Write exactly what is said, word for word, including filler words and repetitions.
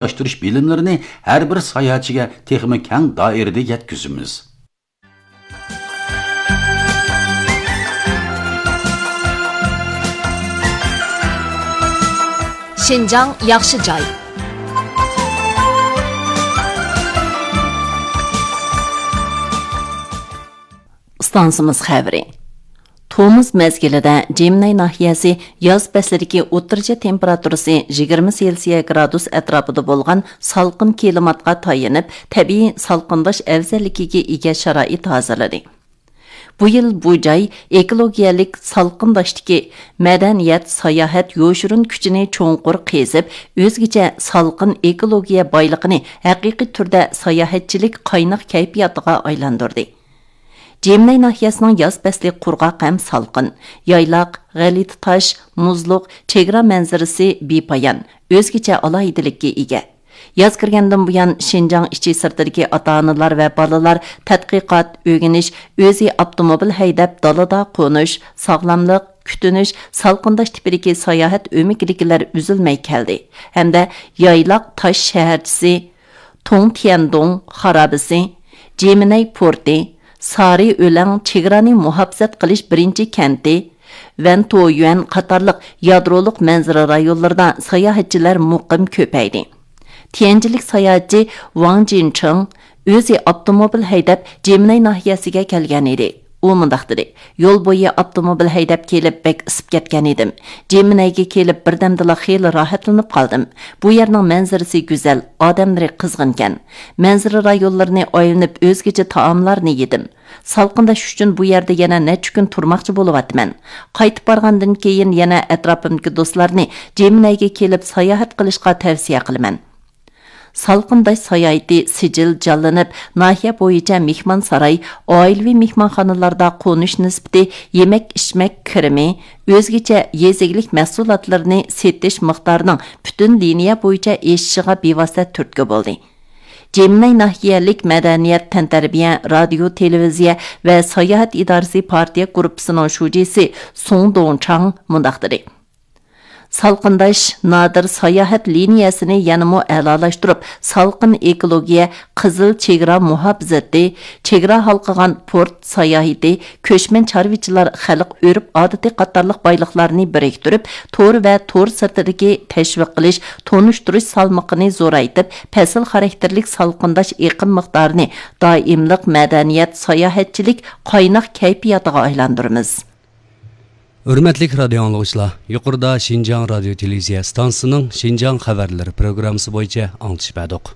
ئورۇنلاشتۇرۇش بىلىملىرىنى ھەر بىر ساياھەتچىگە تېخىمۇ كەڭ دائىرىدە يەتكۈزىمىز. شىنجاڭ ياخشى جاي. ئىستانسىمىز خەۋىرى. تومۇز مەزگىلىدە جىمنەي ناھىيەسى ياز پەسلىدىكى ئوتتۇرىچە تېمپېراتۇرىسى يىگىرمە سېلسىيە گرادۇس ئەتراپىدا بولغان سالقىن كىلىماتقا تايىنىپ، تەبىئىي سالقىنداش ئەۋزەللىكىگە ئىگە شارائىت ھازىرلىدى. بۇ يىل بۇ جاي ئېكولوگىيەلىك سالقىنداشتىكى مەدەنىيەت، ساياھەت يوشۇرۇن كۈچىنى چوڭقۇر قېزىپ، ئۆزگىچە سالقىن ئېكولوگىيە بايلىقىنى ھەقىقىي تۈردە ساياھەتچىلىك قايناق كەيپىياتىغا ئايلاندۇردى. جىمنەي ناھىيەسىنىڭ ياز پەسلى قۇرغاق ھەم سالقىن. يايلاق، غەلىتە تاش، مۇزلۇق، چېگرا مەنزىرىسى بىپايان، ئۆزگىچە ئالاھىدىلىككە ئىگە. ياز كىرگەندىن بۇيان، شىنجاڭ ئىچى سىرتىدىكى ئاتا-ئانىلار ۋە بالىلار تەتقىقات، ئۆگىنىش، ئۆزى ئاپتوموبىل ھەيدەپ دالىدا قونۇش، ساغلاملىق، كۈتۈنۈش، سالقىنداش تىپىدىكى ساياھەت ئۆمىكىدىكىلەر ئۈزۈلمەي كەلدى ھەمدە يايلاق تاش شەھەرچىسى، توڭتيەندۇڭ خارابىسى، جىمىنەي پورتى، سارى ئۆلەڭ چېگرانى مۇھاپىزەت قىلىش بىرىنچى كەنتى، ۋەنتويۈەن قاتارلىق يادرولۇق مەنزىرە رايونلىرىدا ساياھەتچىلەر مۇقىم كۆپەيدى. تيەنجىنلىك ساياھەتچى ۋاڭ جىنچىڭ ئۆزى ئاپتوموبىل ھەيدەپ جىمىنەي ناھىيەسىگە كەلگەن ئىدى. ئۇ مۇنداق دېدى: يول بويى ئاپتوموبىل ھەيدەپ كېلىپ بەك ئىسسىپ كەتكەن ئىدىم. جىمىنەيگە كېلىپ بىردەمدىلا خېلى راھەتلىنىپ قالدىم. بۇ يەرنىڭ مەنزىرىسى گۈزەل، ئادەملىرى قىزغىنكەن. مەنزىرە رايونلىرىنى ئايلىنىپ ئۆزگىچە تائاملارنى يېدىم. سالقىنداش ئۈچۈن بۇ يەردە يەنە نەچچە كۈن تۇرماقچى بولۇۋاتىمەن. قايتىپ بارغاندىن كېيىن يەنە ئەتراپىمدىكى دوستلارنى جىمىنەيگە كېلىپ ساياھەت قىلىشقا تەۋسىيە قىلىمەن. سالقىنداش ساياھىتى سىجىل جانلىنىپ، ناھىيە بويىچە مېھمانساراي، ئائىلىۋى مېھمانخانىلاردا قونۇش نىسبىتى، يېمەك-ئىچمەك كىرىمى، ئۆزگىچە يېزا ئىگىلىك مەھسۇلاتلىرىنى سېتىش مىقدارىنىڭ پۈتۈن لىنىيە بويىچە ئېشىشىغا بىۋاسىتە تۈرتكە بولدى. جىمنەي ناھىيەلىك مەدەنىيەت، تەنتەربىيە، رادىيو، تېلېۋىزىيە ۋە ساياھەت ئىدارىسى پارتىيە گۇرۇپپىسىنىڭ شۇجىسى سۇڭ دۇڭچاڭ مۇنداق دېدى: سالقىنداش نادىر ساياھەت لىنىيەسىنى يەنىمۇ ئەلالاشتۇرۇپ، سالقىن ئېكولوگىيە، قىزىل چېگرا مۇھاپىزىتى، چېگرا ھالقىغان پورت ساياھىتى، كۆچمەن چارۋىچىلار خەلق ئۆرپ-ئادىتى قاتارلىق بايلىقلارنى بىرىكتۈرۈپ، تور ۋە تور سىرتىدىكى تەشۋىق قىلىش، تونۇشتۇرۇش سالمىقىنى زورايتىپ، پەسىل خاراكتېرلىك سالقىنداش ئېقىم مىقدارىنى دائىملىق مەدەنىيەت، ساياھەتچىلىك قايناق كەيپىياتىغا ئايلاندۇرىمىز. ھۆرمەتلىك رادىيو ئاڭلىغۇچىلار، يۇقىرىدا شىنجاڭ رادىيو تېلېۋىزىيە ئىستانسىسىنىڭ شىنجاڭ خەۋەرلىرى پروگراممىسى بويىچە ئاڭلىتىش بەردۇق.